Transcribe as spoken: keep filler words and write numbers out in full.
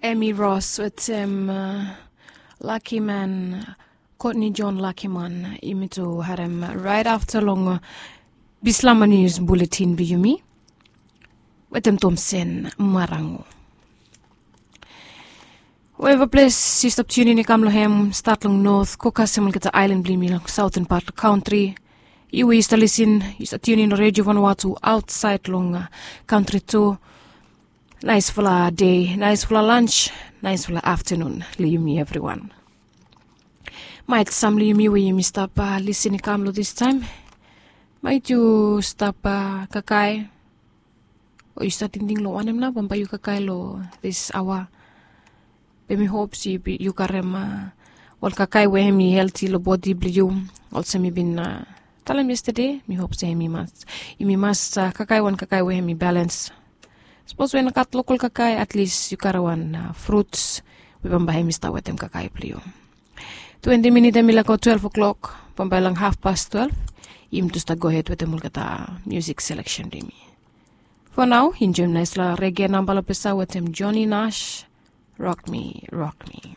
Emi Ros wetem Lakiman, Kotni Jon Lakiman. Yumi tu harem rait afta long Bislama Nius Buletin blong yumi wetem Tomsen Marango. Weva ples yu stap tiunin i kam long hem, stat long not go kasem olgeta ailan blong yumi long saoten pat long kantri. Yu we yu stap lisin, yu stap tiunin long redio vanua tu aotsaed long kantri tu. Naesfala dei, naesfala lans, naesfala aftanun long yumi evriwan. Maet sam long yumi we yumi stap lisin i kam long distaem, maet yu stap kakae, o yu stap tingting long wanem nao bambae yu kakae long dis aoa. Be mi hop se yu karem wan kakae we hem i helti long bodi blong yu. Olsem mi bin talem yestade, mi hop se hem i mas, yumi mas kakae wan kakae we hem i balens. Sapos we i no gat lokal kakae, atlis yu karem wan fruts we bambae hem i stap wetem kakae blong yu. Twenti minit hem i laik go twelef o'klok, bambae long hafpas twelef yumi tu stap gohed wetem olgeta musik seleksen blong yumi. Fo nao enjoem naesfala rege namba long pesa wetem Joni Nas, Rock Me, Rock Me.